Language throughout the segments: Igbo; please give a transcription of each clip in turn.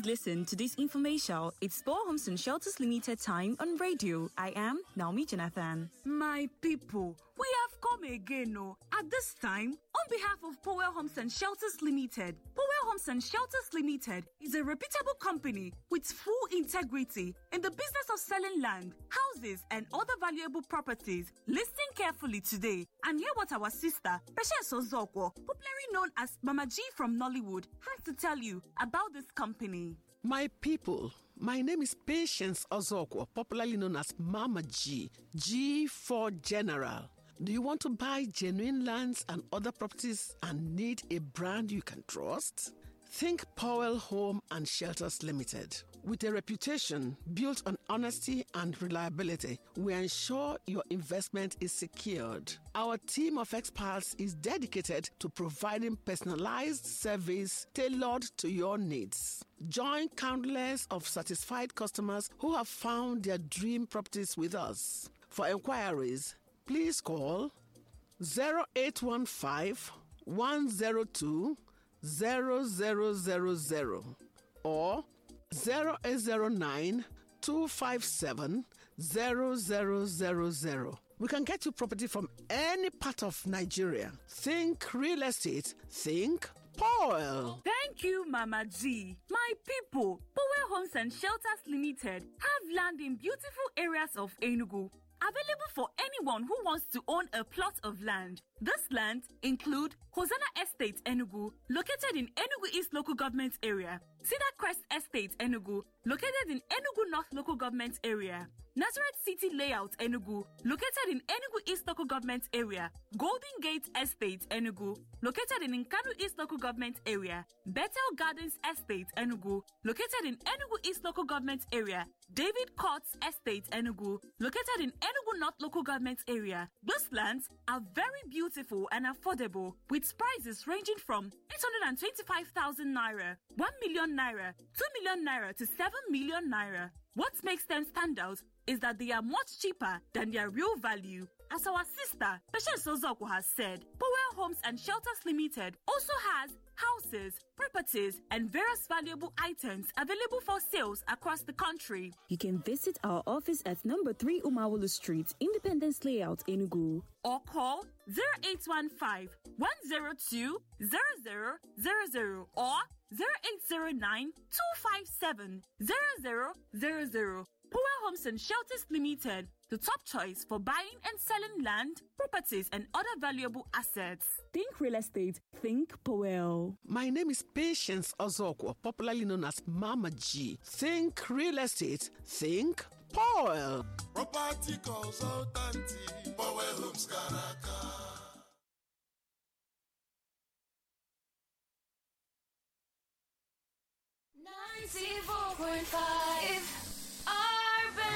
Listen to this information. It's Power Homes and Shelters Limited time on radio. I am Naomi Jonathan. My people, we have come again, oh. At this time, on behalf of Powell Homes and Shelters Limited, Powell Homes and Shelters Limited is a reputable company with full integrity in the business of selling land, houses, and other valuable properties. Listen carefully today and hear what our sister, Patience Ozokwo, popularly known as Mama G from Nollywood, has to tell you about this company. My people, my name is Patience Ozokwo, popularly known as Mama G, G for General. Do you want to buy genuine lands and other properties and need a brand you can trust? Think Powell Home and Shelters Limited. With a reputation built on honesty and reliability, we ensure your investment is secured. Our team of experts is dedicated to providing personalized service tailored to your needs. Join countless of satisfied customers who have found their dream properties with us. For inquiries, please call 0815 102 0000 or 0809 257 0000. We can get you property from any part of Nigeria. Think real estate, think Paul. Thank you, Mama G. My people, Powell Homes and Shelters Limited have land in beautiful areas of Enugu. Available for anyone who wants to own a plot of land. This land include Hosanna Estate Enugu, located in Enugu East Local Government Area, Cedar Crest Estate Enugu, located in Enugu North Local Government Area, Nazareth City Layout Enugu, located in Enugu East Local Government Area, Golden Gate Estate Enugu, located in Nkanu East Local Government Area, Bethel Gardens Estate Enugu, located in Enugu East Local Government Area, David Courts Estate Enugu, located in Enugu North Local Government Area. These lands are very beautiful and affordable, with prices ranging from 825,000 naira, 1 million naira, 2 million naira to 7 million naira. What makes them stand out is that they are much cheaper than their real value. As our sister, Patience Ozokwo has said, Powell Homes and Shelters Limited also has houses, properties, and various valuable items available for sales across the country. You can visit our office at number 3 Umawulu Street, Independence Layout, Enugu. Or call 0815 102 0000 or 0809 257 0000. Powell Homes and Shelters Limited, the top choice for buying and selling land, properties, and other valuable assets. Think real estate, think Powell. My name is Patience Ozokwo, popularly known as Mama G. Think real estate, think Powell. Property consultant, Powell Homes Karaka.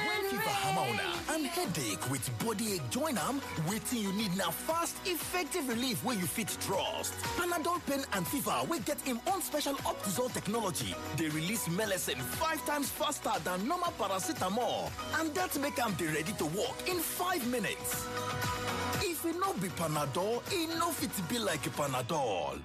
When fever hammer on and headache with body ache join am, wetin you need na fast, effective relief wey you fit trust. Panadol pain and fever wey get im own special Optizol technology dey release melecine 5 times faster than normal paracetamol and dat make am dey ready to work in 5 minutes. If e no be Panadol, e no fit be like Panadol.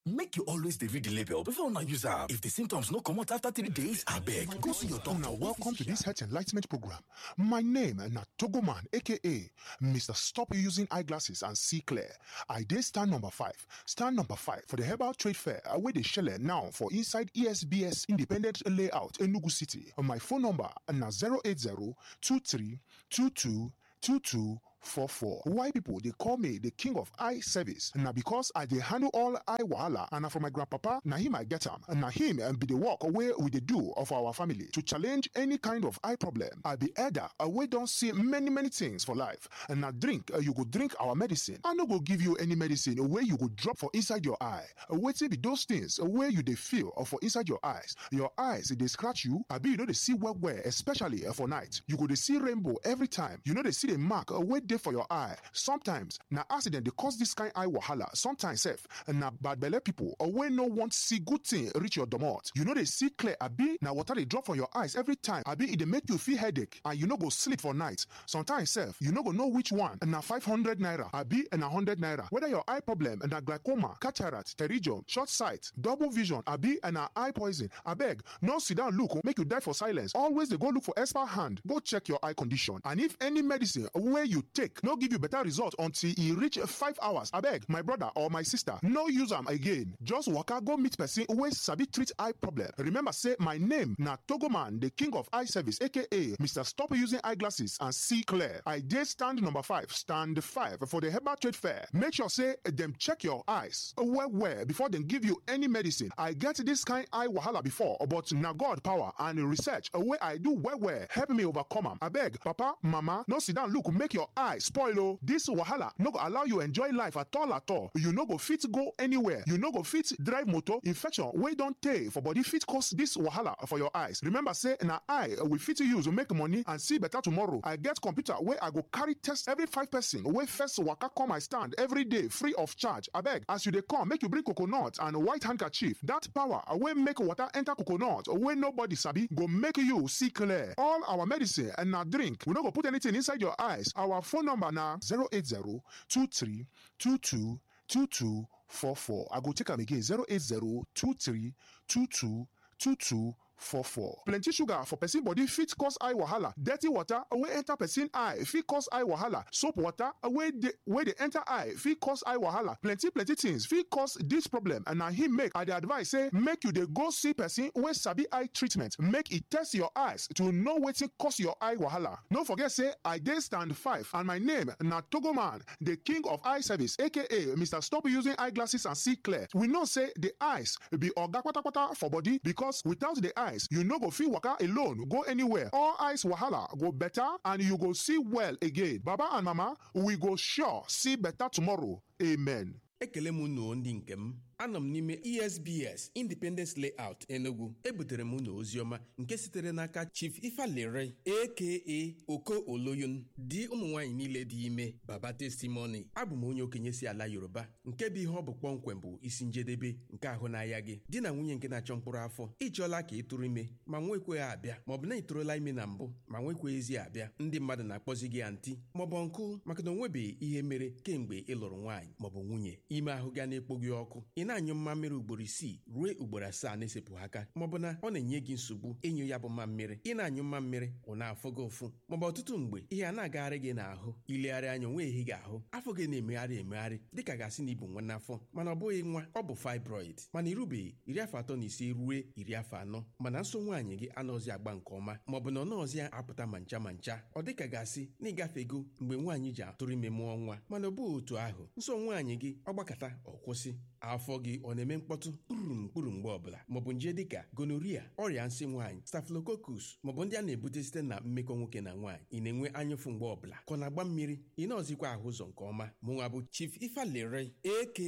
Make you always dey read the label before una use am. If the symptoms no comot after 3 days, abeg go see your doctor. Now, welcome to this health enlightenment program. My name na Togoman, aka Mr. Stop Using Eyeglasses and See Clear. I dey stand number 5. Stand number 5 for the Herbal Trade Fair wey dey shele now for inside ESBS Independent Layout, Enugu City. My phone number na 080 23 22 22 44. Why people they call me the king of eye service? Now because I dey handle all eye wahala and na from my grandpapa, na him I get am. Na him and be the work wey we dey do of our family to challenge any kind of eye problem. I be elder, wey don see many many things for life. And na drink, you go drink our medicine. I no go give you any medicine wey you go drop for inside your eye. Wetin be those things wey you dey feel or for inside your eyes? Your eyes dey scratch you, abi you no dey see well well, especially for night. You go dey see rainbow every time. You no dey see the mark wey dey dey for your eye. Sometimes na accident dey cause this kind eye wahala. Sometimes sef na bad belle people or wey no want see good thing reach your domot. You no dey see clear abi na water dey drop for your eyes every time abi e dey make you feel headache and you no go sleep for night. Sometimes sef you no go know which one na 500 naira abi na 100 naira. Whether your eye problem na glaucoma, cataract, pterygium, short sight, double vision abi na eye poison, abeg no sit down look make you die for silence. Always dey go look for expert hand go check your eye condition. And if any medicine wey you take no give you better result until e reach 5 hours, abeg my brother or my sister, no use am again. Just waka go meet person wey sabi treat eye problem. Remember say my name na Togoman, the king of eye service, aka Mr. Stop Using Eyeglasses and See Clear. I dey stand number 5, stand 5 for the Herbal Trade Fair. Make sure say dem check your eyes well well before dem give you any medicine. I get this kind eye wahala before, but na God power and research wey I do well well help me overcome am. Abeg, papa, mama, no sit down look make your eye spoil o. This wahala no go allow you enjoy life at all at all. You no go fit go anywhere. You no go fit drive motor. Infection wey don tey for body fit cause this wahala for your eyes. Remember say na eye we fit use make money and see better tomorrow. I get computer wey I go carry test every five person wey first waka come my stand every day free of charge. Abeg, as you dey come, make you bring coconut and white handkerchief. That power wey make water enter coconut wey nobody sabi go make you see clear. All our medicine and na drink. We no go put anything inside your eyes. Our phone number na 080 23 22 22 44. I go take am again, 080 23 22 22 44. Plenty sugar for person body fit cause eye wahala. Dirty water wey enter person eye fit cause eye wahala. Soap water wey dey enter eye fit cause eye wahala. Plenty plenty things fit cause this problem, and na him make I dey advise say make you dey go see person wey sabi eye treatment. Make e test your eyes to know wetin cause your eye wahala. No forget say I dey stand 5 and my name na Togoman, the king of eye service, aka Mr. Stop Using Eyeglasses and See Clear. We know say the eyes be oga kpatakpata for body, because without the eyes you no go fit waka alone go anywhere. All eyes wahala go better and you go see well again. Baba and mama, we go sure see better tomorrow. Amen. Ekele m unu ndị nke m. Anọ m n'ime ESBS Independence Layout, Enugu. Ebutere m unu oziọma nke sitere n'aka Chief Ifalere, aka Oko Oloyun, di ụmụ nwaanyị niile dị ime, Baba Testimony. Abụ m onye okenye si ala Yoruba nke bụ ihe ọ bụ kpọmkwem bụ isi njedebe nke ahụ n'ahịa gị. Di na nwunye nke na-achọ mkpụrụ afọ, ịchọọla ka ị tụrụ ime ma nwekweghị abịa, maọbụ na ị tụrụla ime na mbụ ma nwekweghịzi abịa. Ndị mmadụ na-akpọzi gị anti maọbụ nkụ maka na o nwebeghị ihe mere kemgbe ị lụrụ nwaanyị maọbụ nwunye. Ime ahụ ga na-ekpo gị ọkụ, ị na-anyụ mmammiri ugboro 6 ruo ugboro 7 na-esepụ aka, maọbụ na ọ na-enye gị nsogbu ịnyụ ya bụ mmammiri. Ị na-anyụ mmammiri ọ na-afụ gị ụfụ, maọbụ ọtụtụ mgbe ihe a na-agagharị gị n'ahụ. Ilegharị anya onwe ehi gị ahụ, afọ gị na-emegharị emegharị dịka gasị na ibu nwa n'afọ, mana ọ bụghị nwa, ọ bụ fibroid. Mana irubeghị 35 ruo 40, mana nso nwaanyị gị anọzi agba nke ọma, maọbụ na ọ nọọzi apụta ma ncha ma ncha, ọ dịka gasị na ịgafego mgbe nwaanyị ji atụrụ ime mụọ nwa, mana ọ bụghị otu ahụ. Nso nwaanyị gị ọ gbakọta ọ kwụsị. Afọ gị ọ na-eme mkpọtụ kpụrụ mkpụrụ mgbe ọbụla, maọbụ nje dịka gonorrhea, ọrịa nsị nwaanyị, staphylococcus, maọbụ ndị a na-ebute site na mmekọ nwoke na nwaanyị. Ị na-enwe anyụfụ mgbe ọbụla ka ọ na-agba mmiri, ị na-ọzikwa ahụ ụzọ nke ọma. Mụnwa bụ Chief Ifalere, aka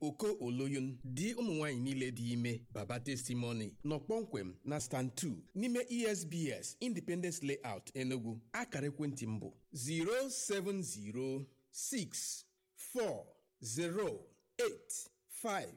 Oko Oloyun, di ụmụ nwaanyị niile dị ime, Baba Testimony, nọ kpọmkwem na stand 2 n'ime ESBS Independence Layout, Enugu. Akara ekwentị m bụ 07064 8 5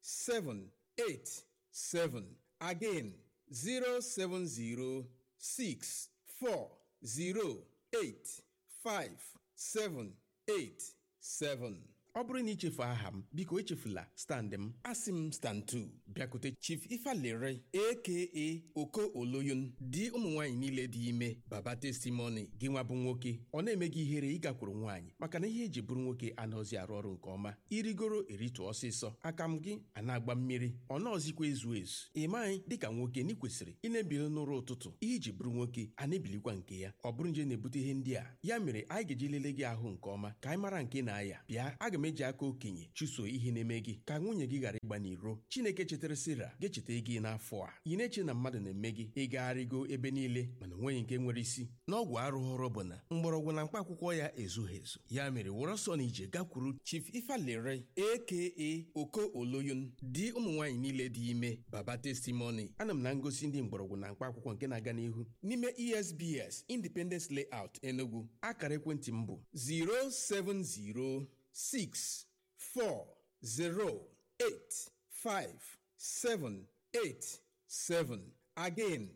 7 8 7. Again, 070 6 4 0 8 5 7 8 7. Ọ bụrụ na ichefu aha m, biko echefula stand m. Asị m stand 2, bịakute Chief Ifalere, aka Oko Oloyun, di ụmụ nwaanyị niile dị ime, Baba Testimony. Gị nwa bụ nwoke, ọ na-eme gị ihere ịgakwuru nwaanyị maka na ihe eji bụrụ nwoke anaghịzi arụ ọrụ nke ọma. Irigoro eritu ọsịsọ, aka m gị a na-agba mmiri, ọ nọọzikwa ezu ezu. Ị maghị dịka nwoke na ị kwesịrị ị na-ebili n'ụra ụtụtụ. Ihe iji bụrụ nwoke a na-ebilikwa nke ya. Ọ bụrụ nje na-ebute ihe ndị a, ya mere anyị ga-eji lelee gị ahụ nke ọma ka anyị mara nke na-aya. Bịa, aga m Aga m eji aka okenye chụso ihe na-eme gị ka nwunye gị ghara ịgba n'iro. Chineke chetara Sera ga-echeta gị n'afọ a. Ị na-eche na mmadụ na-eme gị, ịgagharịgo ebe niile mana onweghị nke nwere isi. N'ọgwụ arụghọrọ bụ na mgbọrọgwụ na mkpa akwụkwọ ya ezughị ezu. Ya mere were ọsọ na ije gakwuru Chief Ifalere aka Oko Oloyun, di ụmụ nwaanyị niile dị ime, Baba Testimony. Ana m na ngosi ndị mgbọrọgwụ na mkpa akwụkwọ nke na-aga n'ihu n'ime ESBS Independence Layout Enugu. Akara ekwentị m bụ 07064085787. Again,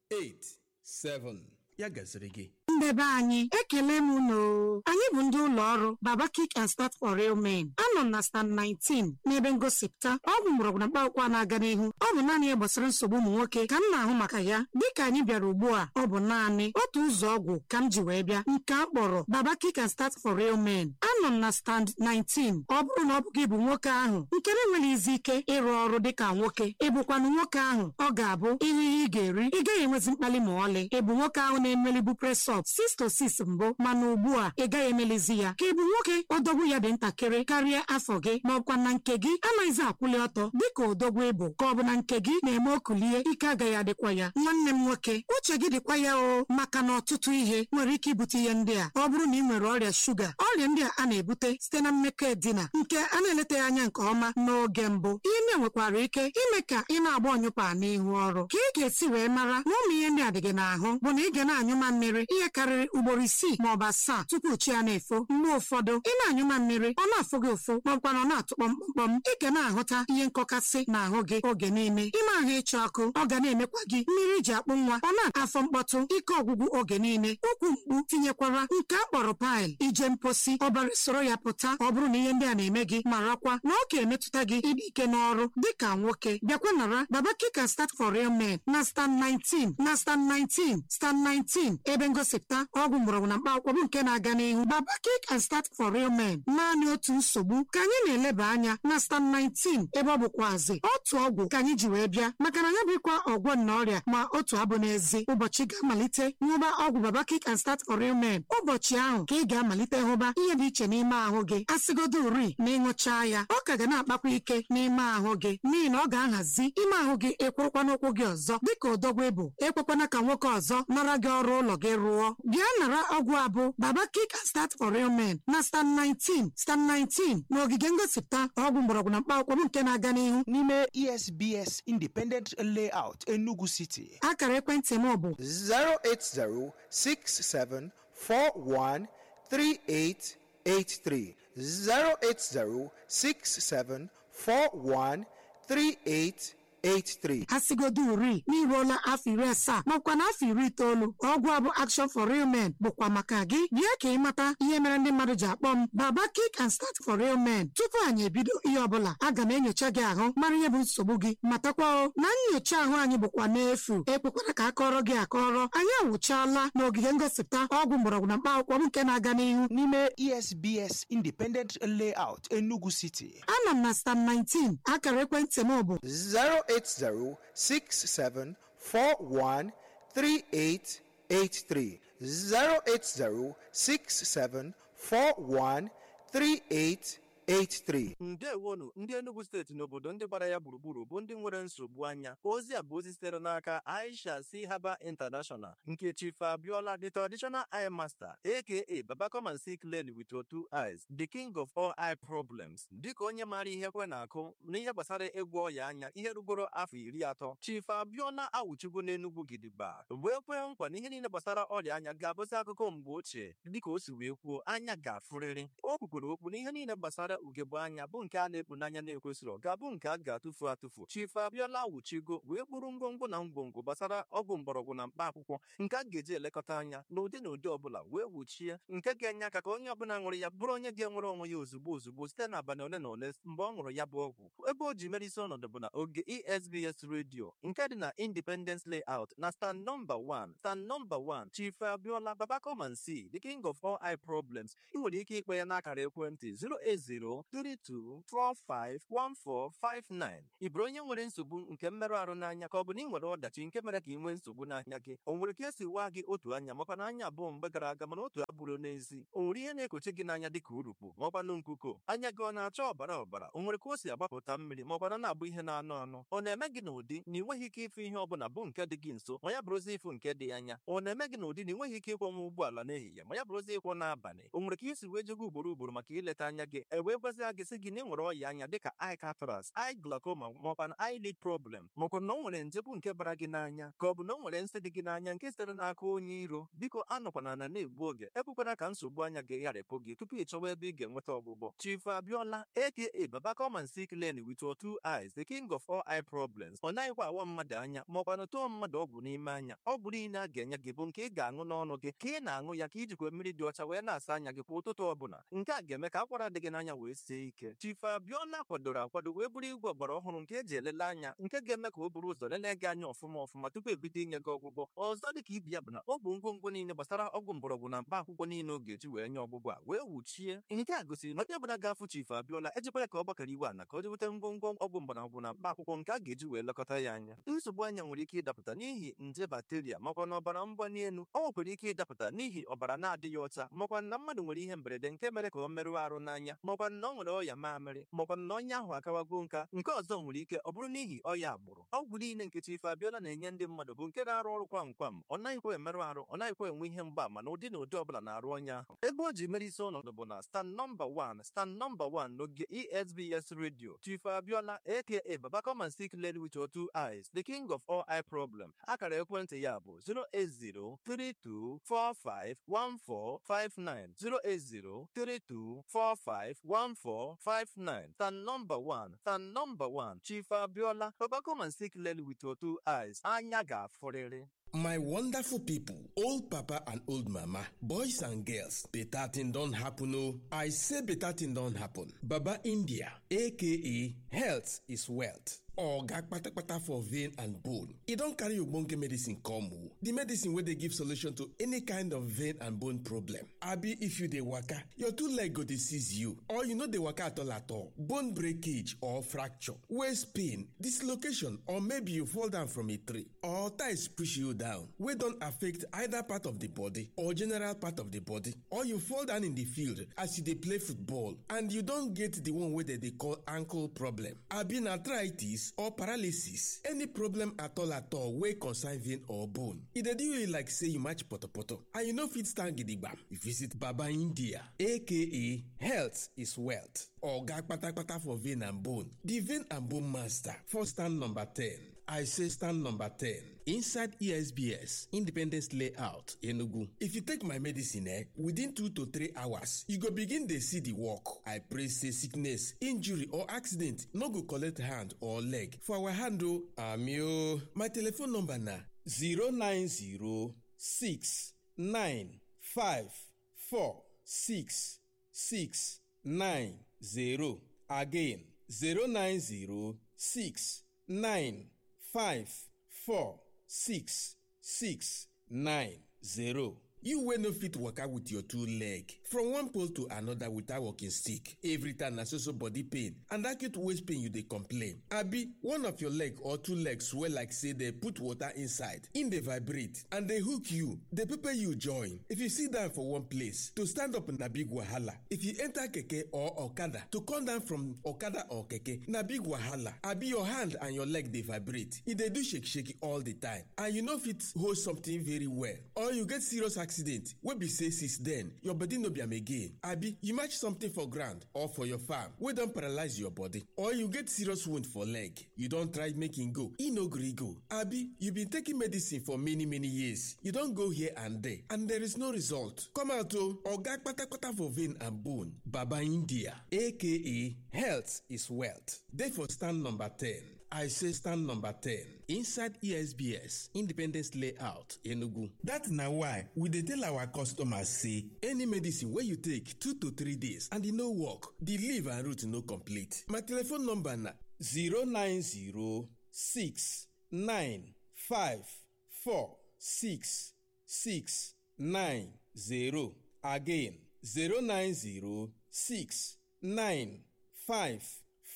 07064085787. Ya gaziri gị. Ndebe anyị, ekele m unu. Anyị bụ ndị ụlọ ọrụ Baba Kick and Start for Real Men. Anọ m na stand 19 n'ebe ngosipụta ọgwụ mgbọrọgwụ na mkpaakwụkwọ na-aga n'ihu. Ọ bụ naanị ihe gbasara nsogbu ụmụ nwoke ka m na-ahụ maka ya. Dịka anyị bịara ugbu a, ọ bụ naanị otu ụzọ ọgwụ ka m ji wee bịa, nke a kpọrọ Baba Kick and Start for Real Men. Anọ m na stand 19. Ọ bụrụ na ọ bụ gị bụ nwoke ahụ nke na-enweghị izi ike ịrụ ọrụ dịka nwoke, ị bụkwanụ nwoke ahụ ọ ga-abụ ihe ị ga-eri, ị gaghị enwezi mkpali ma ọlị. Ị bụ nwoke ahụ na-emelibu presọp 6 to 6 mbụ, mana ugbu a ị gaghị emelizi ya. Ka ị bụ nwoke odogwu ya dị ntakịrị karịa afọ gị, ma ọbụkwa na nke gị anaghịzi akwụli ọtọ dịka odogwu ịbụ, ka ọ bụ na nke gị na-eme okulie ike agaghị adịkwa ya. Nwanne m nwoke, uche gị dịkwa ya o, maka na ọtụtụ ihe nwere ike ibute ihe ndị a. Ọ bụrụ na ị nwere ọrịa shuga, ọrịa ndị a a na-ebute site na mmekọ edina nke a na-eletaghị anya nke ọma n'oge mbụ, ihe ndị a nwekwara ike ime ka ị na-agba ọnyụpa n'ihu ọrụ. Ka ị ga-esi wee mara na ụmụ ihe ndị a dị gị n'ahụ bụ na ị ga na-anyụ mmiri ihe karịrị ugboro 6 ma ọ bụ 7 tupu chi ya na-efo. Mgbe ụfọdụ ị na-anyụ mmiri, ọ na-afụ gị ụfụ ma ọbụkwa na ọ na-atụkpọ mkpọmkpọm. Ị ga na-ahụta ihe nkọkasị n'ahụ gị oge niile. Ime ahụ ịchọ ọkụ, ọ ga na-emekwa gị mmiri ji akpụ nwa, ọ na-afọ mkpọtụ, ike ọgwụgwụ oge niile, ụkwụ mkpu, tinyekwara nke a kpọrọ paịl, ije mposi ọbara soro ya pụta. Ọ bụrụ na ihe ndị a na-eme gị, marakwa na ọ ga-emetụta gị ịdị ike n'ọrụ dịka nwoke. Bịakwa nara Baba Kick and Start for Real Men na stand 19, na stand 19, stand 19, ebe ngosipụta ọgwụ mgbọrọgwụ na mkpa akwụkwọ bụ nke na-aga n'ihu. Baba Kick and Start for Real Men, naanị otu nsogbu ka anyị na-eleba anya na stand 19, ebe ọ bụkwazị otu ọgwụ ka anyị ji wee bịa, maka na ya bụkwa ọgwọ na ọrịa ma otu abụ n'ezi. Ụbọchị ga-amalite ṅụba ọgwụ Baba Kick and Start for Real Men, ụbọchị ahụ ka ị ga-amalite hụba ihe dị iche n'ime ahụ gị. Asịgodo uri na ịṅụchaa ya, ọ ka ga na-akpakwa ike n'ime ahụ gị, n'ihi na ọ ga-ahazi ime ahụ gị. Ekwurukwa n'ụkwụ gị ọzọ dịka odogwu ịbụ. Ekwekwana ka nwoke ọzọ nara gị ọrụ ụlọ gị rụọ. Bịa nara ọgwụ abụ Baba Kick and Start for Real Men na stand 19, stand 19, n'ogige ngosipụta ọgwụ mgbọrọgwụ na mkpa akwụkwọ bụ nke na-aga n'ihu n'ime ESBS Independent Layout Enugu City. Akara ekwentị m bụ 08067413883, 08067413883. Asịgodo uri n'iruola afọ 70 maọbụkwa na afọ 90, ọgwụ abụ Action for Real Men bụkwa maka gị. Bịa ka ị mata ihe mere ndị mmadụ ji akpọ m Baba Kick and Start for Real Men. Tupu anyị ebido ihe ọbụla, aga m enyocha gị ahụ, mara ihe bụ nsogbu gị. Matakwa o na nyocha ahụ anyị bụkwa n'efu. Ekwekwara ka akọrọ gị akọrọ. Anyị awụchaala n'ogige ngosipụta ọgwụ mgbọrọgwụ na mkpa akwụkwọ bụ nke na-aga n'ihu n'ime ESBS Independent Layout Enugu City. Anọ m na stand 19. Akara ekwentị m bụ 08067413883, 08067413883. Ndewonu ndị Enugu steeti na obodo ndị gbara ya gburugburu bụ ndị nwere nsogbu anya. Ozi a bụ ozi sitere n'aka Aisha C Haba International nke Chief Abiola, the traditional eye master, aka Baba come and see clearly with your two eyes, the king of all eye problems. Dịka onye maara ihe kwe na-akụ n'ihe gbasara ịgwọ ọya anya ihe rugoro afọ 30, Chief Abiola awụchigo n'Enugu gidigba wee kwee nkwa na ihe niile gbasara ọrịa anya ga-abụzi akụkọ mgbe ochie. Dịka o si wee kwuo, anya ga-afụrịrị. O kwukwuru okwu na ihe niile gbasara ugegbe anya bụ nke a na-ekpu n'anya na-ekwesịrị ga-abụ nke a ga-atụfu atụfu. Chief Abiola awụchigo wee kpụrụ ngwongwo na ngwongwo gbasara ọgwụ mgbọrọgwụ na mkpa akwụkwọ nke a ga-eji elekọta anya n'ụdị na ụdị ọbụla, wee wuchie nke ga-enye aka ka onye ọbụla ṅụrụ ya bụrụ onye ga-enwere onwe ya ozugbo ozugbo site n'abalị ole na ole mgbe ọ ṅụrụ ya bụ ọgwụ. Ebe o ji mere isi ọnọdụ bụ na oge ESBS redio nke dị na Independence Layout na stand nọmba 1, stand nọmba 1. Chief Abiola, Baba come and see, the king of all eye problems. Ị nwere ike ikpe ya n'akara ekwentị 080 08032451459. Ị bụrụ onye nwere nsogbu nke mmerụ ahụ n'anya ka ọ bụ na ị nwere ọdachi nke mere ka ị nwee nsogbu n'anya gị, o nwere ka esi waa gị otu anya makwa na anya abụọ mgbe gara aga mana otu abụrụ n'ezi, o nwere ihe na-ekochi gị n'anya dịka urukpu maọkwanụ nkuko, anya gị ọ na-acha ọbara ọbara, o nwere ka o si agbapụta mmiri maọkwana na-abụ ihe na-anụ anụ, ọ na-eme gị n'ụdị na ị nweghị ike ịfụ ihe ọbụla bụ nke dị gị nso ma ya bụrụzi ịfụ nke dị anya, ọ na-eme gị n'ụdị na ị nweghị ike ịkwọnwa ụgbọala n'ehihie ma ya bụrụzi ịkwọ n'abalị, o nwere ka isi wee jego ugboro ugboro maka ileta anya gị, e wee gwazie gị sị gị na ị nwere ọya anya dịka eye cataract, eye glaucoma maọkwa eyelid problem, maọkwa na o nwere nje bụ nke bara gị n'anya, ka ọ bụ na o nwere nsị dị gị n'anya nke sitere n'aka onye iro. Biko anọkwana na na-egbu oge, ekwekwana ka nsogbu anya gị gharịpụ gị tupu ị chọwa ebe ị ga-enweta ọgwụgwọ. Chief Abiola aka Baba come and see clearly with your two eyes, the king of all eye problems. Ọ naghịkwa awa mmadụ anya maọkwa na tụọ mmadụ ọgwụ n'ime anya. Ọgwụ niile a ga-enye gị bụ nke ị ga-aṅụ n'ọnụ gị, ka ị na-aṅụ ya ka ijikwa mmiri dị ọcha wee na-asa anya gị kwa ụtụtụ ọbụla. Nke a ga-eme ka akwara dị gị n'anya wee sie ike. Chief Abiola kwadoro akwado wee bụrụ igwe ọgbara ọhụrụ nke eji elele anya, nke ga-eme ka o buru ụzọ lelee gị anya ọfụma ọfụma tupu ebido inye gị ọgwụgwọ. Ọzọ dịka ibi ya bụ na ọ bụ ngwongwo niile gbasara ọgwụ mgbọrọgwụ na mkpa akwụkwọ niile ọ ga-eji wee nye ọgwụgwọ a wee wuchie. Nke a gosiri na onye ọbụla ga-afụ Chief Abiola ejikwa ya ka ọ gbakọrọ iwe ala ka o jeweta ngwongwo ọgwụ mgbọrọgwụ na mkpa akwụkwọ nke a ga-eji wee lekọta ya anya. Nsogbu anya nwere ike ịdapụta n'ihi nje bakteria makwa na ọbara mgbali elu. Ọ nwekwara ike ịdapụta n'ihi ọbara na-adịghị ọcha, makwa na mmadụ nwere ihe mberede nke mere ka ọ merụọ arụ n'anya, makwa na ọ nwere ọya mamịrị, makwa na ọnya ahụ akawago nka. Nke ọzọ nwere ike ọ bụrụ n'ihi ọya agbụrụ. Ọgwụ niile nke Chief Abiola na-enye ndị mmadụ bụ nke na-arụ ọrụ kwam kwam, ọ naghịkwa emerụ arụ, ọ naghịkwa enwe ihe mgbaama na ụdị na ụdị ọbụla na-arụ ọnya ahụ. Ebe o ji mere isi ọnọdụ bụ na stand nọmba 1, stand nọmba 1 n'oge ESBS Radio. Chief Abiola aka Baba come and see clearly with your two eyes, the king of all eye problem. Akara ekwentị ya bụ 08032451459, 08032451459. Stand nọmba 1, stand nọmba 1, Chief Abiola, Baba come and see clearly with your two eyes. Anya ga-afụrịrị. My wonderful people, old papa and old mama, boys and girls, better thing don happen oh. I say better thing don happen. Baba India, aka health is wealth. Oga kpatakpata for vein and bone. E don carry ogbonge medicine come o. The medicine wey dey give solution to any kind of vein and bone problem. Abi if you dey waka, your two leg go dey seize you, or you no dey waka at all at all. Bone breakage or fracture, waist pain, dislocation, or maybe you fall down from a tree, or ties push you down wey don affect either part of the body or general part of the body, or you fall down in the field as you dey play football and you don get the one wey dem dey call ankle problem. Abi na arthritis or paralysis, any problem at all at all wey concern vein or bone. E dey do you like say you match potopoto and you no fit stand gidigbam. You visit Baba India, aka health is wealth. Oga kpatakpata for vein and bone, the vein and bone master for stand number 10. I say stand number 10 inside ESBS Independence Layout, Enugu. If you take my medicine, within 2 to 3 hours, you go begin dey see the work. I pray say sickness, injury or accident no go collect hand or leg. For our hand o, ami o. My telephone number na 090 6 9 5 4 6 6 9 0. Again, 090 6 9 5 4 6 6 9 0. You wey no fit waka with your two leg from one pole to another without walking stick. Every time na so so body pain and acute waist pain you dey complain. Abi one of your leg or two legs swell like say dey put water inside, im dey vibrate and dey hook you, dey pepper you join. If you sit down for one place, to stand up na big wahala. If you enter keke or okada, to come down from okada or keke na big wahala. Abi your hand and your leg dey vibrate, e dey do shake shake all the time and you no fit hold something very well, or you get serious accident wey be say since then your body no be am again. Abi you match something for ground or for your farm wey don paralyze your body, or you get serious wound for leg, you don try make e go, e no gree go. Abi you been taking medicine for many many years, you don go here and there and there is no result. Come out o, oga kpatakpata for vein and bone, Baba India, aka health is wealth, dey for stand number 10. I say stand number 10 inside ESBS Independence Layout, Enugu. That na why we dey tell our customers say any medicine wey you take 2 to 3 days and e no work, the leaf and root no complete. My telephone number na 090 6 9 5 4 6 6 9 0. Again, 090 6 9 5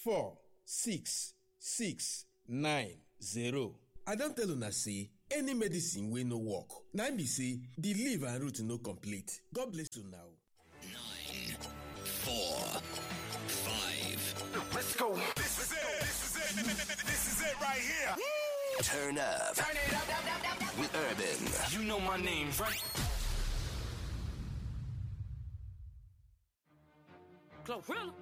4 6 6 9 0. I don tell una say any medicine wey no work na im be say the leaf and root no complete. God bless una o. 4, 5. Let's go. This is it. This is it. This is it right here. Turn up. Turn it up. With Urban. You know my name, right? Chlorella.